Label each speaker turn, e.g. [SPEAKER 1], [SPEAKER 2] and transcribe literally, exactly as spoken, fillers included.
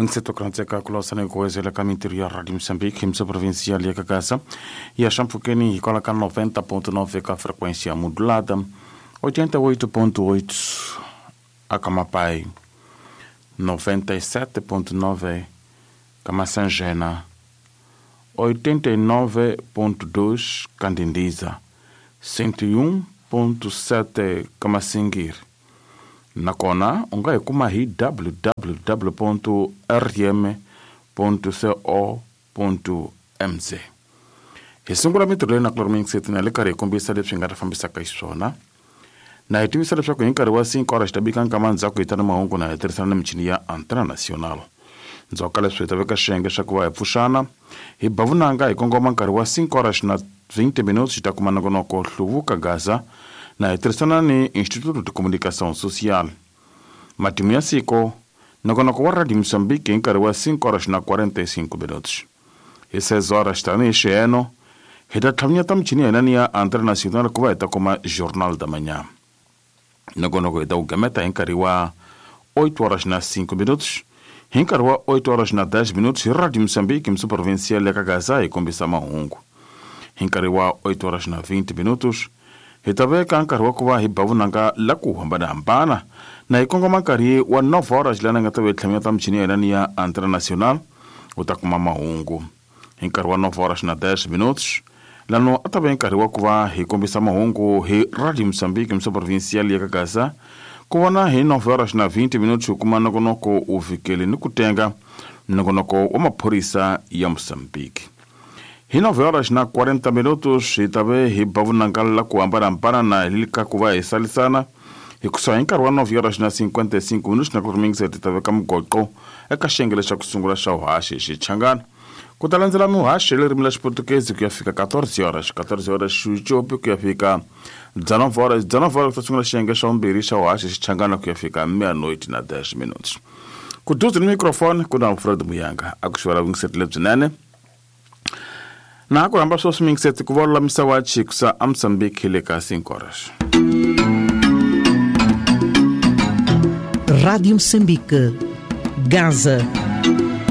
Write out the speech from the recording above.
[SPEAKER 1] Ngisetokrantseka kulosana ikuwezela ka mintirho ya Radio Moçambique hi provincial ya Gaza ya Xampfukeni hikwalaho ka noventa ponto nove ka frequência modulada, oitenta e oito ponto oito a Camapai, noventa e sete ponto nove Camassangena, oitenta e nove ponto dois Candindiza, cento e um ponto sete Camassingir. Nakona u nga hi kuma hi w w w ponto r m ponto co ponto m z. Hi sungula mintirho leyi na ku loromixeti na le karhi hi kombisa leswi hi nga ta fambisaka xiswona. Na hi tivisa leswaku hi nkarhi wa cinco horas ta bika nkama ndzhaku hi ta na mahungu na hi tirhisana na michini ya Antena Nacional. Ndzhaku ka leswi hi ta veka xiyenge xa ku va hi pfuxana hi ba vunanga hi kongoma nkarhi wa cinco horas na vinte minutos hi ta kuma nongonoko Hluvuka Gaza na hi tirhisana ni Instituto de Comunicação Social. Matimu ya siku nongonoko wa Radio Moçambique hi nkarhi wa cinco horas na quarenta e cinco minutos. Hi seis horas tanihi xiheno hi ta tlhavinyeta michini ya hina ni ya Antena Nacional ku va hi ta kuma Jornal da Manhã. Nongonoko hi ta wu gameta hi nkarhi wa oito horas na cinco minutos. Hi nkarhi wa oito horas na dez minutos hi Radio Moçambique mso provincial ya Gaza hi kombisa mahungu. Hi nkarhi wa oito horas na vinte minutos hi ta veka nkarhi wa ku va hi ba vunanga la ku hambanahambana na hi kongoma nkarhi wa nove horas lana nga ta ve tlhamiyeta michini ya hina ni ya Antena Nacional u ta kuma mahungu. Hi nkarhi wa nove horas na dez minutos lano a ta ve nkarhi wa ku va hi kombisa mahungu hi Radio Moçambique mso provincial ya Gaza ku vona hi nove horas na vinte minutos hi kuma nongonoko u fikele ni ku tenga nongonoko wa maphorisa ya Moçambique. Hi nove horas na quarenta minutos hi ta ve hi ba vunanga la ku hambanahambana na hi ka ku va hi salisana hi kusuhi hi nkarhi wa nove horas na cinquenta e cinco minutos na ku rimingisa hi ta veka mugoqo eka xiyenge lexa ku sungula xa vuhaxi hi Xichangana. Ku ta landzela muhaxi hi ririmi ra Xiputukezi ku ya fika quatorze horas, quatorze horas Xityopi ku ya fika dezenove horas, dezenove horas ku ta sungula xiyenge xa vumbirhi xa vuhaxi hi Xichangana ku ya fika meia-noite na dez minutos. Ku duze ni microfone ku na Alfred Muyanga a ku xivela vuyingiseri lebyinene. Na ku hamba sweswi mingiseti ku va lulamisa wa Chikusa a Moçambique hi le ka cinco horas.
[SPEAKER 2] Rádio Moçambique, Gaza.